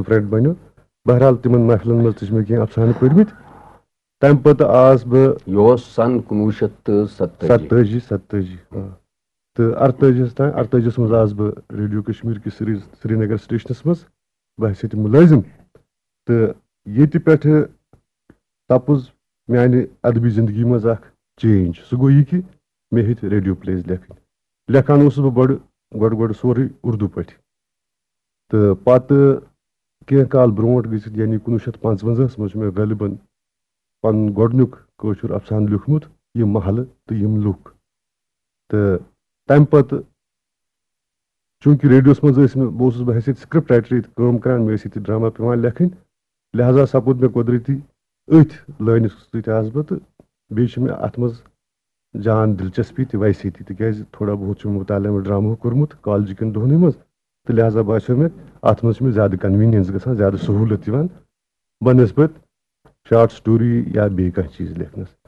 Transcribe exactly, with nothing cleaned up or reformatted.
Friend بنیو۔ بہرحال، تِمن محفلن منٛز تہِ چھِ مےٚ کینٛہہ افسانہٕ پٔرمٕتۍ۔ تَمہِ پتہٕ آس بہٕ یہِ اوس سن کُنوُہ شیٚتھ تہٕ ستٲجی۔ ستٲجی، ستٲجی، آ۔ تہٕ اَرتٲجیَس تام، اَرتٲجیَس منٛز آس بہٕ ریڈیو کشمیر کِس سری، سرینگر سٹیشنَس منٛز بحیثیت مُلٲزِم۔ تہٕ ییٚتہِ پٮ۪ٹھٕ سپُز میانہِ ادبی زندگی منٛز اکھ چینج۔ سُہ گوٚو یہِ کہِ مےٚ ہیٚتۍ ریڈیو پلیز لیکھٕنۍ۔ لیکھان اوسُس بہٕ بڑٕ، گۄڈٕ گۄڈٕ سورُے اردو پٲٹھۍ۔ تہٕ پتہٕ کینٛہہ کال برونٛٹھ گٔژھِتھ، یعنی کُنوُہ شیٚتھ پانٛژوَنزاہَس منٛز چھُ مےٚ غٲلباً پنُن گۄڈٕنیُک کٲشُر افسانہٕ لیوٗکھمُت، یہِ محلہٕ تہٕ یِم لُکھ۔ تہٕ تَمہِ پتہٕ، چوٗنٛکہِ ریڈیوَس منٛز ٲسۍ مےٚ، بہٕ اوسُس بہٕ حیثیت سکرپٹ رائٹر ییٚتہِ کٲم کران، مےٚ ٲسۍ ییٚتہِ ڈرامہ پٮ۪وان لیکھٕنۍ، لہذا سپُد مےٚ قۄدرٔتی أتھۍ لٲنہِ سۭتۍ آس بہٕ، تہٕ بیٚیہِ چھِ مےٚ اَتھ منٛز جان دلچسپی تہِ ویسے تہِ، تِکیٛازِ تھوڑا بہت چھُ مےٚ مطالعہ مےٚ ڈرامہُک کوٚرمُت کالجہِ کٮ۪ن دۄہنٕے منٛز، تہٕ لہذا باسیو مےٚ اَتھ منٛز چھِ مےٚ زیادٕ کنوینینس گژھان، زیادٕ سہوٗلت یِوان بنسبت شارٹ سٹوری یا بیٚیہِ کانٛہہ چیٖز لیکھنَس۔